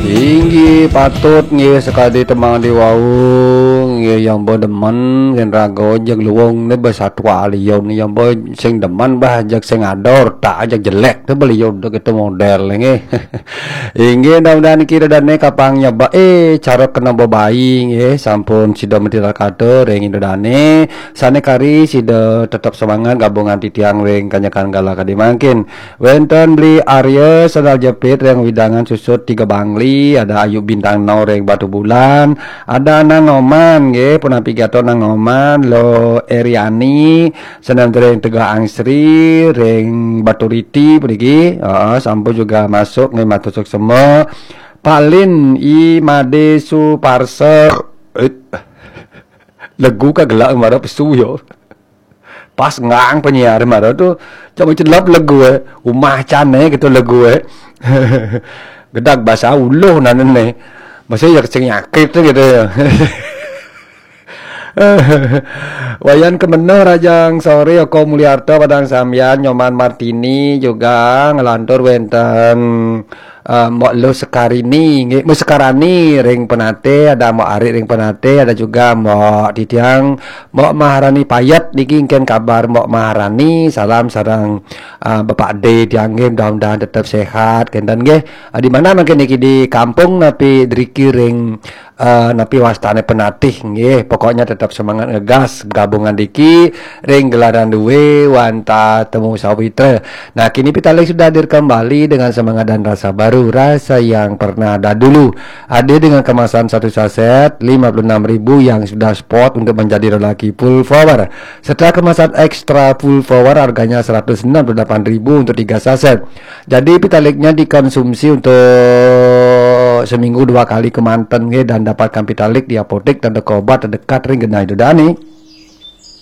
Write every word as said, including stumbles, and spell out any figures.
Inggih patut nggih sakadi tembang di wau nggih, yang ba demen sing raga jeg luung ni ba satua liun, yang ba sing demen bah jeg sing ador tak jeg jelek tu beliau dah kita model nggih. Inggih, mudah-mudahan kita dane kapang nyaba eh cara kena bebai nggih, sampun sida mentira kata ring ida dane sane kari sida tetap semangat gabungan titiang ring kanyakan gala kadi mangkin. Wenten Beli Arya sandal jepit ring wewidangan Susut Tiga Bangli, ada Ayu Bintang No ring Batu Bulan, ada Nang Oman nggih, punapi gato Nang Oman, Lo Eriani, sandal ring Tegal Angsri ring Batu Riti puniki. Heeh, sampun juga masuk nggih, matur suksma. Palin I Made Suparsa. Eh, legu ka gelak mara pesu yo. Pas ngang penyiar mara tu, cak celap legu eh. Umah cane gitu legu eh. Gedag basa uluh nane ne. Masih ya kecing nyakit tu gitu ya. Wayan Kemeneng, Rajang Sore, Oko Mulyarto, Padang Sambian, Nyoman Martini juga ngelantur wenten eh, Mbok Luh Sekarini, nggih, Mbok Sekarani ring Penate, ada Mbok Ari ring Penate, ada juga Mbok Titiang, Mbok Maharani Payet niki, engken kabar Mbok Maharani, salam sareng eh, Bapak D tiang nggih, mudah-mudahan tetap sehat kenten nggih. Eh, di mana mangkin niki, di kampung napi driki ring eh, napi wastane Penatih nggih, pokoknya tetap semangat ngegas gabungan diki ring gelaran due wantah Temu Sawitra. Nah, kini Pitalik sudah hadir kembali dengan semangat dan rasa baru, rasa yang pernah ada dulu. Hadir dengan kemasan satu saset lima puluh enam ribu yang sudah spot untuk menjadi lelaki full power. Setelah kemasan extra full power, harganya seratus enam puluh delapan ribu untuk tiga saset. Jadi Pitaliknya dikonsumsi untuk seminggu dua kali kemanten nggih, dan dapatkan Pitalik di apotek dan toko obat terdekat ring genah ida dane.